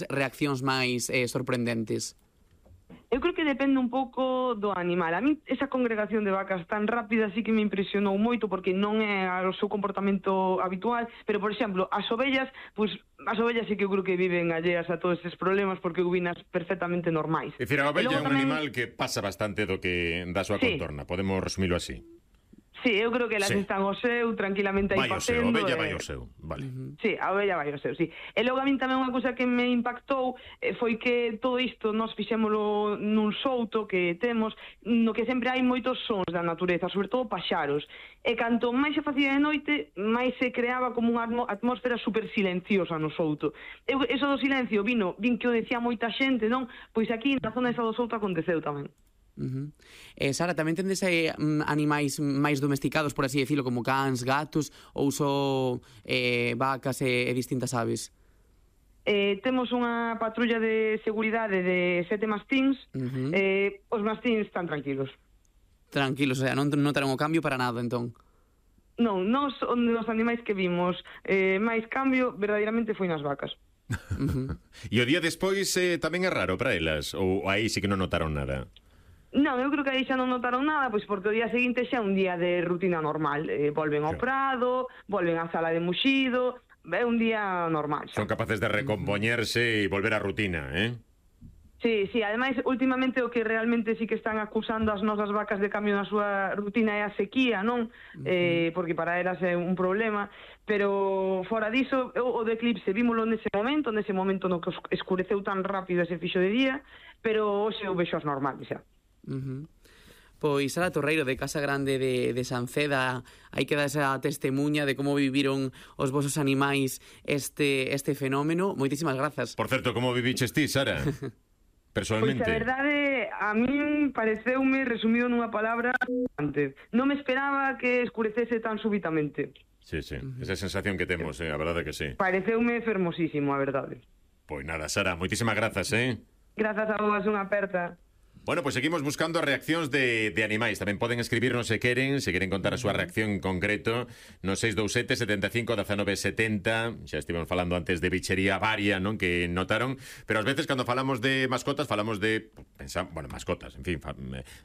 reaccións máis sorprendentes? Eu creo que depende un pouco do animal. A mí esa congregación de vacas tan rápida sí que me impresionou moito porque non é o seu comportamento habitual, pero, por exemplo, as ovellas sí que eu creo que viven alleas a todos estes problemas porque eu vinas perfectamente normais. É dicir, a ovella é un animal que pasa bastante da súa contorna, podemos resumilo así. Sí, eu creo que elas están ao seu, tranquilamente aí A facendo. ovella vai ao seu, vale. Sí, a ovella vai ao seu, sí. E logo a min tamén unha cousa que me impactou foi que todo isto nós fixémolo nun souto que temos, no que sempre hai moitos sons da natureza, sobre todo paxaros. E canto máis se facía de noite, máis se creaba como unha atmósfera super silenciosa no souto. Eso do silencio vin que o decía moita xente, non? Pois aquí na zona esa do souto aconteceu tamén. Sara, tamén tendes animais máis domesticados, por así decirlo, como cans, gatos, ou só vacas e distintas aves? Temos unha patrulla de seguridade de 7 mastíns. Os mastíns están tranquilos. Tranquilos, o sea, non terán o cambio para nada, entón? Non, nos animais que vimos máis cambio verdadeiramente foi nas vacas. E o día despois tamén é raro para elas? Ou aí sí que non notaron nada? Non, eu creo que aí xa non notaron nada, pois porque o día seguinte xa é un día de rutina normal. Volven ao prado, volven á sala de muxido, é un día normal xa. Son capaces de recompoñerse e volver á rutina, Sí, ademais, últimamente o que realmente sí que están acusando as nosas vacas de cambio na súa rutina é a sequía, non? Porque para elas é un problema, pero fora diso, o de eclipse vímolo nese momento no que escureceu tan rápido ese fixo de día, pero hoxe eu vexo as normales xa. Pois Sara Torreiro, de Casa Grande de Sanceda, aí queda esa testemunha de como viviron os vosos animais este fenómeno. Moitísimas grazas. Por certo, como viviches ti, Sara? Personalmente. Pois a verdade, a min pareceume, resumido nunha palabra, antes. Non me esperaba que escurecese tan súbitamente. Sí, esa sensación que temos, a verdade que sí. Pareceume fermosísimo, a verdade. Pois nada, Sara, moitísimas grazas, Grazas a vos, unha aperta. Bueno, pues seguimos buscando as reaccións de animais. Tamén poden escribirnos se queren contar a súa reacción en concreto no 627 75 19 70. Xa estivemos falando antes de bichería varia, non, que notaron, pero ás veces cando falamos de mascotas falamos de, mascotas, en fin,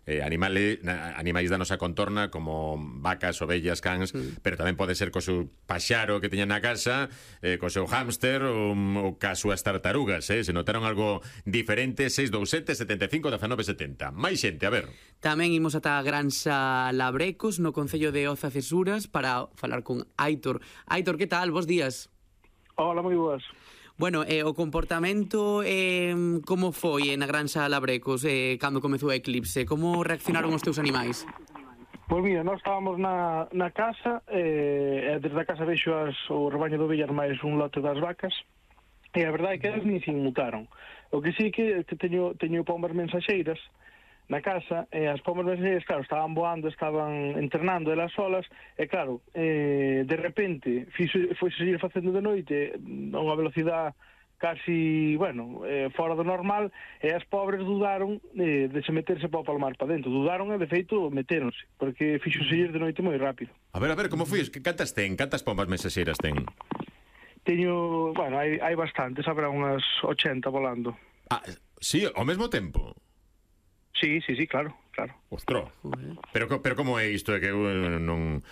animais da nosa contorna como vacas, ovellas, cans, pero tamén pode ser co seu paxaro que teñan na casa, co seu hámster ou ca súas tartarugas, se notaron algo diferente. 627 75 19 70. Máis xente, a ver. Tamén imos ata a Granxa Labrecos, no concello de Oza Cesuras, para falar con Aitor. Aitor, que tal? Bos días. Hola, moi boas. Bueno, o comportamento como foi na Granxa Labrecos cando comezou o eclipse? Como reaccionaron os teus animais? Pois mira, nós estábamos na casa, desde a casa vexo o rebaño de ovellas máis un lote das vacas, e a verdade é que elas nin se inmutaron. O que sí que teño pombas mensaxeiras na casa, e as pombas mensaxeiras, claro, estaban voando, estaban entrenando elas solas, e claro, de repente foi seguir facendo de noite a unha velocidade casi, fora do normal, e as pobres dudaron de se meterse para o palmar para dentro. Dudaron e, de feito, metéronse, porque fixo seguir de noite moi rápido. A ver, como foi? Cantas ten? Cantas pombas mensaxeiras ten? Teño, hai bastantes, habrá unhas 80 volando. Ah, sí, ao mesmo tempo? Sí, claro. Ostro, pero como é isto? É que non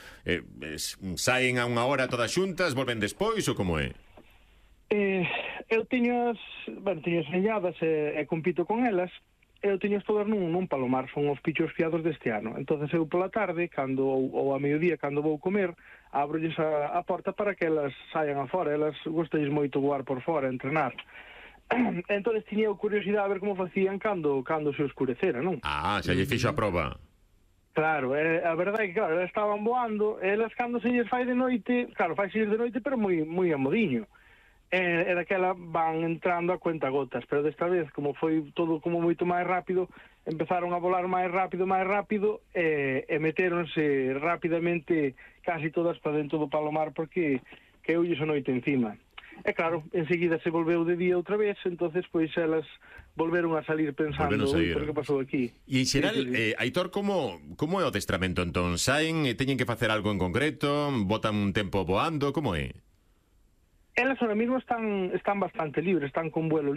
saen a unha hora todas xuntas, volven despois, ou como é? Eu teño as señadas e compito con elas. Eu teño todas nun palomar, son os pichos fiados deste ano. Entonces eu pola tarde, ou a mediodía, cando vou comer, abrolles a porta para que elas saian afora. Elas gostais moito voar por fora, entrenar. Entonces tiña curiosidade a ver como facían cando se escurecera, non? Ah, xa lle fixo a proba. Claro, a verdade é que, claro, elas estaban voando, elas cando se lles fai de noite, claro, fai de noite, pero moi amodiño. E daquela van entrando a cuenta gotas, pero desta vez, como foi todo como moito máis rápido, empezaron a volar máis rápido, e metéronse rapidamente casi todas para dentro do palomar, porque caeulles a noite encima. E claro, enseguida se volveu de día outra vez, entonces pois elas volveron a salir pensando, por que pasou aquí. E en xeral, Aitor, como é o adestramento entón? Saen e teñen que facer algo en concreto? Botan un tempo voando? Como é? Elas ahora mismo están bastante libres, están con vuelo